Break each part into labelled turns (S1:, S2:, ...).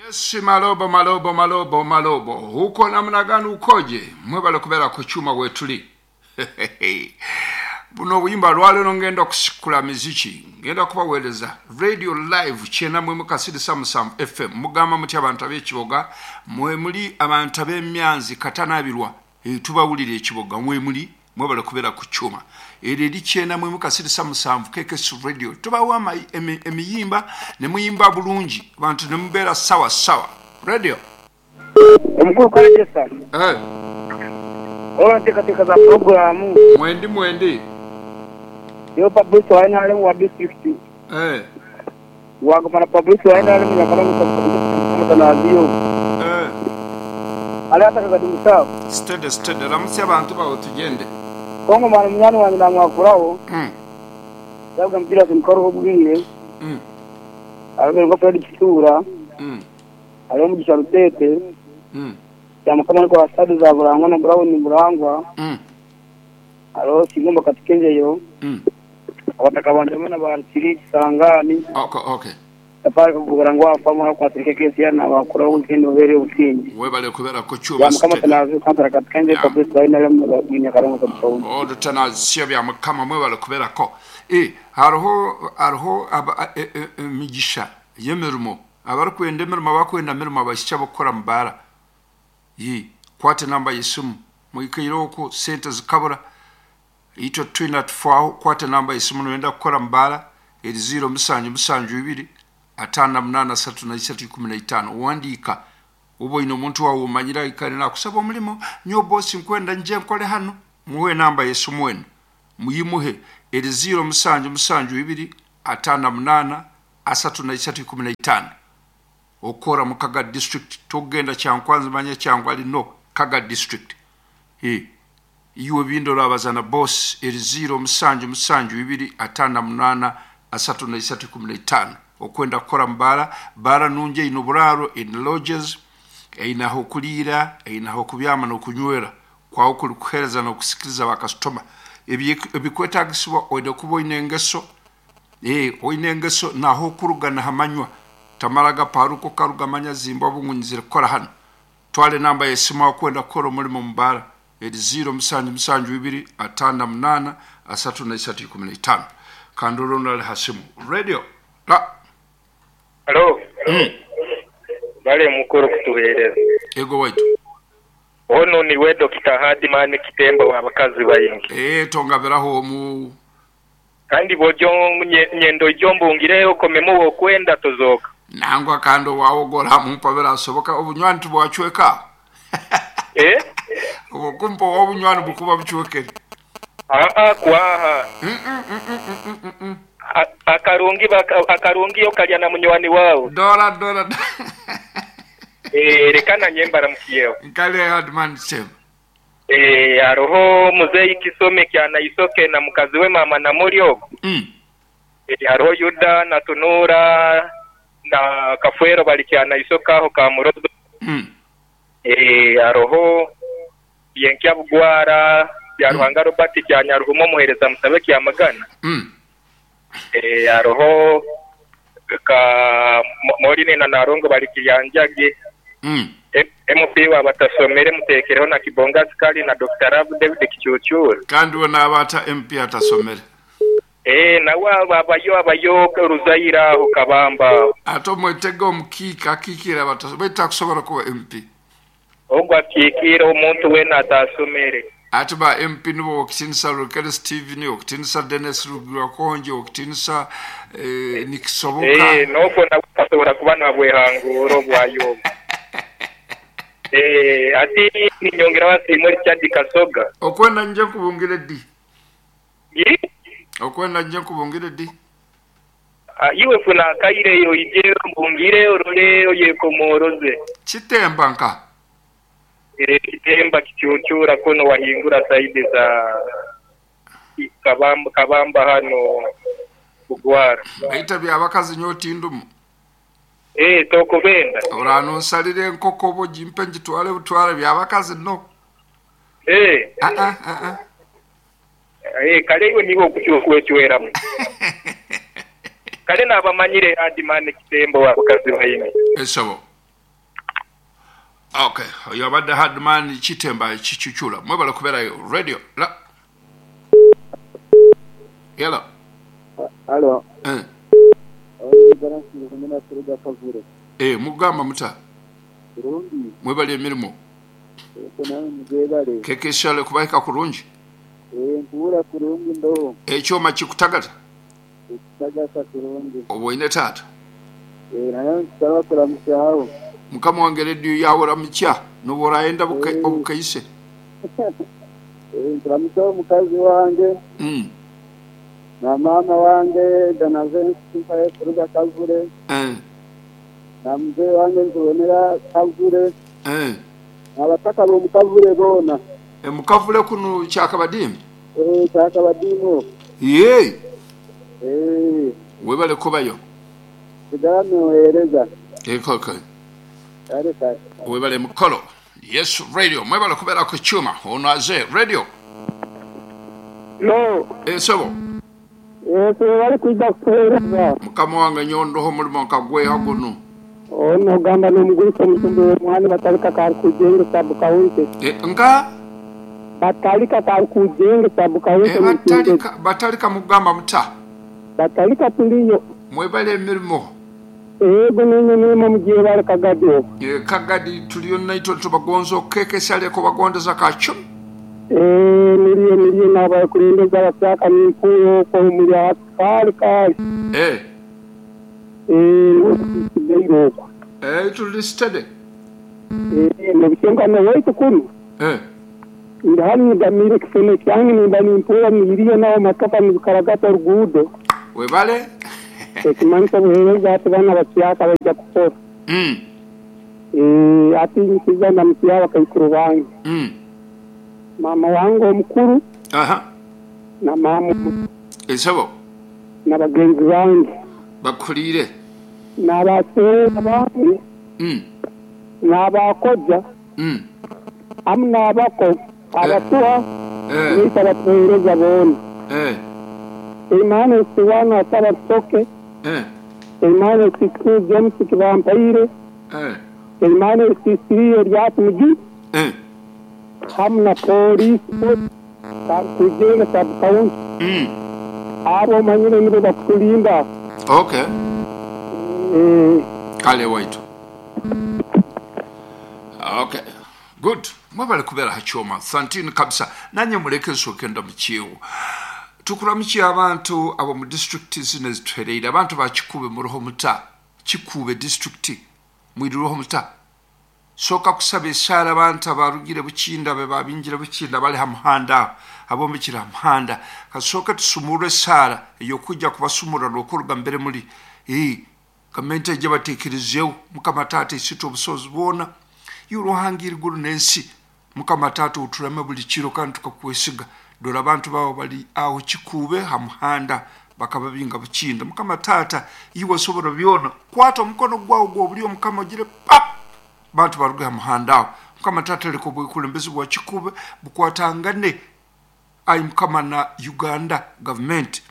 S1: Yes, malobo malobo malobo malobo huko namna gani ukoje mwebale kubeera ku kyuma wetuli buno obuyimba lwaleero ngenda okusikula miziki ngenda kubaweereza radio live kyenda mwemu kasirisa musanvu fm mugamba mutya abantu ab'ekiboga mwemuli abantu ab'emyanzi katanabirwa Eh, tubawulira ekiboga mwemuli mwebale kubeera ku kyuma eryo eri kyenda mwemu kasirisa musanvu kkс radio tubawa emiyimba ne muyimba bulungi abantu ne mubeera sawa sawa radio
S2: Omukulu Kalegesa,
S1: Eh,
S2: olwa nteekateeka za pulogulaamu
S1: mwendi mwendi
S2: niiwe Pabrice wa nrm wa disiturikiti
S1: Eh,
S2: Waguma na Pabrice wa nrm Nyakaramu Mutanaziyo.
S1: eh.
S2: Ali atakaga di musawo.
S1: Steady steady ramutsya abantu bawe tugende.
S2: Kongo mwana munywani wange namwakuraho. Yabuga Julius Mukoro obwire. Hariho nka Fred Kitura. Hariho Mugisha Rutete. Ya Mukama ariko wa stade za Burangwa na Brown Burangwa. Hariho Kigomba Katikenjeyo. Abataka banje hamwe na ba Kiri Kisangani.
S1: Okay, okay.
S2: Safari kugura ngu wafamu hakwatire kesi yana bakuraho weekend obere obusinge.
S1: Webale kubeera ku kyuma
S2: Ya Mukama
S1: steady.
S2: Tanazi kansara Katikenjeyo
S1: Yeah.
S2: Fabrice wa NRM Nyakarongo Kabutawuni.
S1: Olutanazisya bya mukama mwebale kubeerako. Eh, hariho hariho aba- e- e- emigisha y'emirimo abarikwenda emirimo abakwenda mirimo abaishiki abakukora mu baara Ye, kwata enamba y'esimu mwikaire okwo sente zikabura itwe twina tufaaho kwata enamba y'esimu noyenda kukora mu baara eri 0 musanju musanju ibiri ataano na munaana asatu na isatu ikumi na itaano wandiika oba oine omuntu waawe omanyire aikare nakusaba omurimo nyowe bosi nkwenda ngye nkore hanu muhe enamba y'esimu enu muyimuhe eri 0 musanju musanju ibiri ataano na munaana asatu na isatu ikumi na itaano okukora mu Kaga district tokugenda Kyankwanzi manya Kyangwali no Kaga district e iwe bindora abazana boss eri 0 musanju musanju ibiri ataano na munaana asatu na isatu ikumi na itaano okwenda kukora mu baara baara nungi eine oburaaro eine lodges eine ah'okuriira eine ah'okubyama n'okunywera kwawe kuri kuheereza n'okusikiriza bakasitoma ebikwetagisibwa oine kuba oine engeso Eh, oine engeso naho okuruga nahamanywa tamara gaparuka okaruga manya zimba obungu kukora hanu twara enamba y'esimu aho kwenda kukora omurimo mu baara eri 0 musanju musanju ibiri ataano na munaana asatu na isatu ikumi na itaano kandi orundi ari ha simu radio la
S3: Halo. Bale mukuru kutuhereza.
S1: ego waitu
S3: Ono niwe Dr. Hardman Kitemba wa bakazi bayingi.
S1: eh tongabiraho omu
S3: Kandi bojo nyendo ijombungireyo komemo wokwenda tozoka.
S1: nangwa kandi owawogora mumpa birasoboka obunywani tubwacweka
S3: Eh?
S1: obukumpa obunywani bukuba bucwekere
S3: Aa kwaha. Akarungi baka, akarungi yo kalya na munywani wawe.
S1: dora dora
S3: Eh rekana nyembara mukiyeo.
S1: nkale Hardman Kitemba
S3: Eh hariho muzeyi Kisome kyana isoke na mukazi we mama na Muryogo. Eh hariho Yuda na Tunura na Kafwero bali kyana isoka aho ka Murozo. Eh hariho Yenkya Bugwara bya Ruhanga Robert kya Nyaruhumo muhereza musabe kya Magana. Eh hariho ka Morine na Narongo bali kiryanjage. MP wa batasomere mutekereho na Kibonga Askari na Dr. Rav David Kicucura.
S1: kandi we n'abaata MP atasomere
S3: Eh nawe abayo abayo Ruzaira aho Kabamba.
S1: ate omwetega omukiika akiikire abatasomere baitu takusobola kuba MP
S3: Ogwo akiikire omuntu weena atasomere.
S1: ate ba MP nibo okutinisa Rukere Steven okutinisa Dennis Rugirakonje okutinisa eh, nikisoboka
S3: Eh nokwo nawe asobola kuba nabwehangura obwayo. Eh ati ninyongera wasiimwe Richard Kasoga.
S1: okwenda nje nkubungire ddi
S3: Yi?
S1: okwenda nje nkubungire ddi
S3: Ah, iwe funa akaireyo ije mbungire orole oyekomoroze.
S1: kitemba nka
S3: Eh, kitemba kicucura kuno wahingura saidi za Kabamba, Kabamba hano Bugwara.
S1: baita byabakazi nyo otindumu
S3: Eh tokubenda.
S1: oranonsalira enkoko oba ogimpe ngitwale butwale byabakazi no
S3: Eh
S1: Ah, ah, ah, ah.
S3: eh kale iwe niwe okukyukwecweramu. Kale nabamanyire Hardman Kitemba wa bakazi bayine.
S1: esabo Okay, oyo abadde Hardman Kitemba Kicucula. Mwebale kubeerayo. Radio la. Hello.
S2: Halo.
S1: Eh.
S2: Oyo kuruga Kavure.
S1: Eh, mugamba muta.
S2: Kurungi.
S1: Mwebale emirimo.
S2: Eko nawe mujebale.
S1: Keke shale kubaika kurungi.
S2: Eh, nkuwura kurungi ndo.
S1: Ekyoma kikutagata.
S2: Ekitagata kurungi.
S1: Oboine taata.
S2: Eh, nayo nkusaba kuramusyaho.
S1: Mukama wange rediyo yawe ramukya noba orayenda obukaise.
S2: Eh, nkuramusyaho omukazi wange. Na mama wange Danavensi mpaye kuruga Kavure. Na mzee wange nkubonera Kavure. Abataka b'omu Kavure boona.
S1: Mukavule kuno Kyakabadimu?
S2: Eh, Kyakabadimu.
S1: Yee.
S2: Eh.
S1: Webale kubayo.
S2: Sigala neweereza.
S1: Ekoko.
S2: Kale kale.
S1: Webale mukolo. Yes Radio, mwebale kubeera ku kyuma. Ono aze radio.
S4: No.
S1: Esebo.
S4: Yes, bali kwija kutuweereza.
S1: Mukama wange nyondoho omulimo nkagweha guno.
S4: Ono ogamba n'omugurisa omutumbi w'omwani batalika kari kujenge sabu kawunti.
S1: Nga?
S4: Batalika kari kujenge sabu kawunti.
S1: Batalika mugamba muta.
S4: Batalika tuliyo.
S1: Mwebale emirimo.
S4: Ego nenye mirimo mugiye bali Kagadi.
S1: Kagadi tuliyo naitwe tubagonza okukekesa bagondeza kacumu.
S4: Niriyo niriyo n'abakulembeze abakyaka n'empuuyo okwo muli kali kali. Nsigaire okwo.
S1: Tuli steady.
S4: Nebishenga waitu kunu. Ndi hanu nyigamire ekiseme kyange nimba nimpuura niriyo naho matoka nibikaragata oruguudo.
S1: Webale.
S4: Ekimanyisa obuheereza ati baana bakyaka baija kukora. Ati nkiza ndamukiya abakaikuru bange. Mama wange omukuru. Na mama omuto.
S1: Esebo.
S4: Na bagenzi bange.
S1: Bakuliire.
S4: N'abaseera bange. N'abakoja. Amu n'abako. Abatuha. Niita batuheereza boona. Emmanuel Siwana ataba Rusoke. Emmanuel Siku James Kibampaire. Emmanuel Sisiriyo Ryatumugi. Hamu na polisi kujenga sub county. Abo omanyire nibo bakutulinda.
S1: Okay. Kale waitu. Okay. Good. Mwebale kubeera ha kyoma. Santini kabisa. Nanye muleke nsooke ndamukiyewo. Tukuramukiye abantu abo mu district zino ezituhereire. Abantu ba Kikuube muroho muta. Kikuube district mwiriroho muta. Soka kusaba esaara abantu abarugire Bukinda be babingira Bukinda bali ha muhanda abombekire ha muhanda. Kasooka tusumurre esaara ey'okujja kubasumurra n'okuruga mbere muri. Gavumenti ejja bateekerezeewo. Mukama taata esita obusobozi bwona. Iwe eiguru n'ensi. Mukama taata oturame buli kiro kandi tukakwesiga. Dora abantu baabo bali aho Kikuube ha muhanda bakababinga Bukinda. Mukama taata iwe osobora byona. Kwata omukono gwawe gw'obulyo Mukama ogire pap. Bantu baruge ha muhanda aho. Mukama taata leka obukulembeze bwa Kikuube bukwatangane ayi Mukama na Uganda government.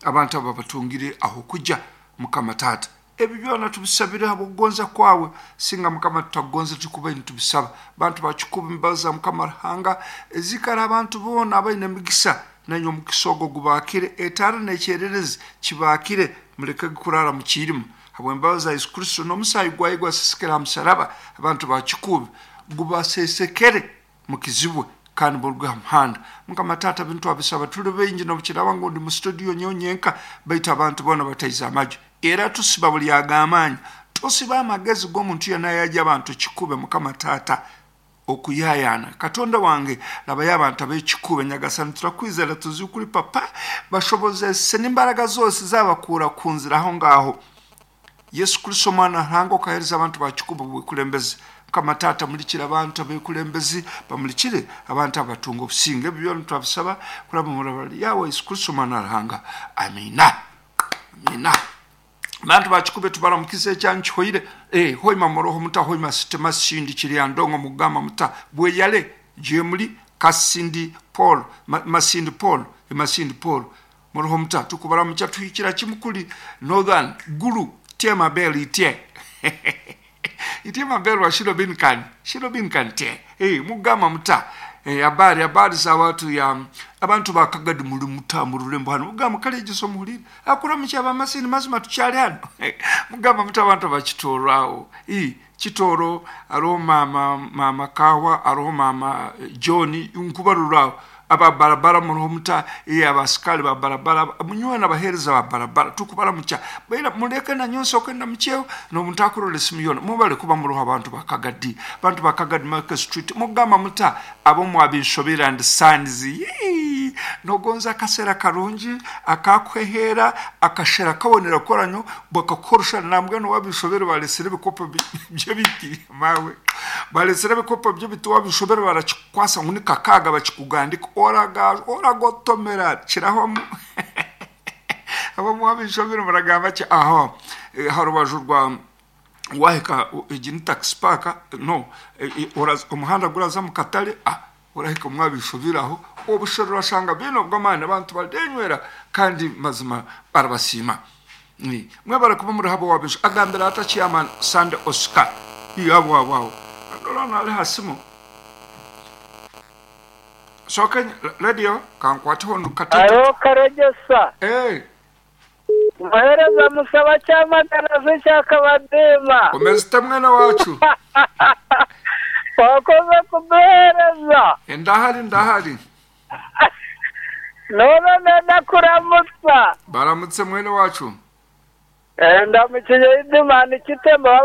S1: Abantu abo batungire aho kujja Mukama taata. Ebyo byona tubisabire habw'okugonza kwawe. Singa Mukama tutakugonza tukuba nitubisaba. Bantu ba Kikuube mbaza Mukama Ruhanga ezikara abantu boona abaine emigisa nanye omukisa ogwo gubaakire etaara n'ekyererezi kibaakire muleke kurara mu kiirimu. Habw'embabazi za Yesu Kristo n'omusaayi gwaye gwasesekera ha musaraba abantu ba Kikuube gubasesekere mukizibwe kandi muruge ha muhanda. Mukama taata bintu abisaba tuli baingi n'obukiraba ngu ndi mu studio nyowe nyenka baitu abantu boona bataize amaju. Era tusiba buli ag'amaanyi. Tusiba amagezi g'omuntu yenna yajja abantu Kikuube Mukama taata okuyayaana. Katonda wange labayo abantu ab'ekikuube nyagasani turakwizera tuzi kuri papa bashobozese n'imbaraga zose zabakuura ku nzira aho ngaho. Yesu Kristo omwana Ruhanga okaheereza abantu ba Kikuube obukulembeze. Mukama taata mulikire abantu abekulembezi bamulikire abantu abatunga obusinge. Ebyo byona twabisaba kuraba mu murabali yawe Yesu Kristo omwana Ruhanga. Amina. Amina. Bantu ba Kikuube tubaramukize ekyanyu kihoire. Hoima moroho muta hoima sitema sindi kiri ndongo mugamba muta bweyale jemuli Kasindi Paul Masindi Paul Masindi Paul moroho muta tukubaramucha tuhikira kimukuli Northern Gulu tema beli tie. Itye maberwa shilo bin kan shilo bin kan te eh mugamba muta eh habari habari za watu ya abantu ba Kagadi muri muta mu rurembo hano mugamba kale egiso muhurire akuramukya abamasini mazima tukyali hano mugamba muta abantu bakitoro aho eh Kitoro hariho mama mama Kawa hariho mama John nkubarura aba barabara muriho muta eh abasikari ba barabara munywana abahereza ba barabara tukubaramukya baira mureke na nyonso okenda mukyeho n'omuntu akurora esimu yoona mubale kuba muriho abantu ba Kagadi abantu ba Kagadi Market Street mugamba muta abo mwabinshobera and sons yee nogonza akasera karungi akakwehera akashera kabonera koranyo bakakorosha nambwe no wabishobera balesere ebikopo by'ebiti mawe balesere ebikopo by'ebiti wabishobera barakikwasa ngu ni kakaaga bakikugandika oraga oragotomera kiraho abo mwabishobera muragamba ki aho ha rubaju rwa wahika egi ni taxi park no omuhanda guraza mu katare ah orahika mwabishobera aho obushera orashanga biine obw'amaani abantu barenywera kandi mazima barabasiima mwebare kuba muri habo wabisho agambira ata chairman Sunday Oscar abo abo abo ndora nali hasimu soka radio kankwatiho ndukatete
S5: Alo Karegesa
S1: eh
S5: Muhereza musaba cyamagana se cyakabadema
S1: umeze mwene wacu
S5: wakoze kuduhereza
S1: ndahari ndahari
S5: none ndakuramutsa
S1: baramutse mwene wacu
S5: ndamukiye idimana ikitemba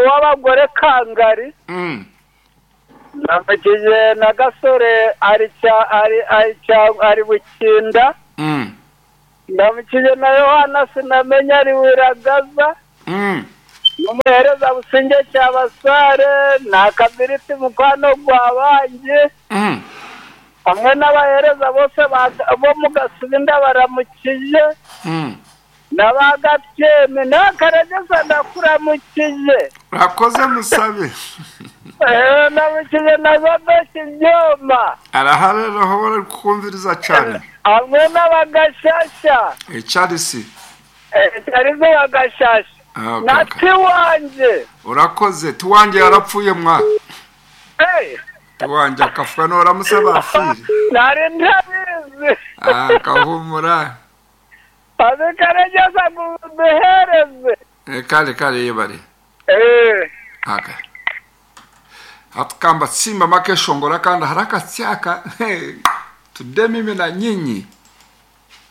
S5: w'abagore kangari ndamukiye na gasore ari bukinda ndamukiye na yohana sinamenya ari wiragaza n'umuhereza businge cyabasare na kabiriti mukwano gwa bangi hamwe n'abahereza bose bo mu gasubi ndabaramukiye n'abagatyeme n'akaregesa ndakuramukiye
S1: urakoze musabe
S5: ndamukiye na zodoki ibyuma
S1: arahari aho bari kukumviriza cyane
S5: hamwe n'abagashasha
S1: Charles
S5: Charles bagashasha na tiwanjye
S1: urakoze tiwanjye yarapfuye mwa tiwanjye akafuka noramusaba afire
S5: nari ntabizi
S1: akahumura
S5: abikaregeza ngo duhereze
S1: kale kale yebare aka hatukamba simba makeshongora kandi haraka syaka today mimi na nyinyi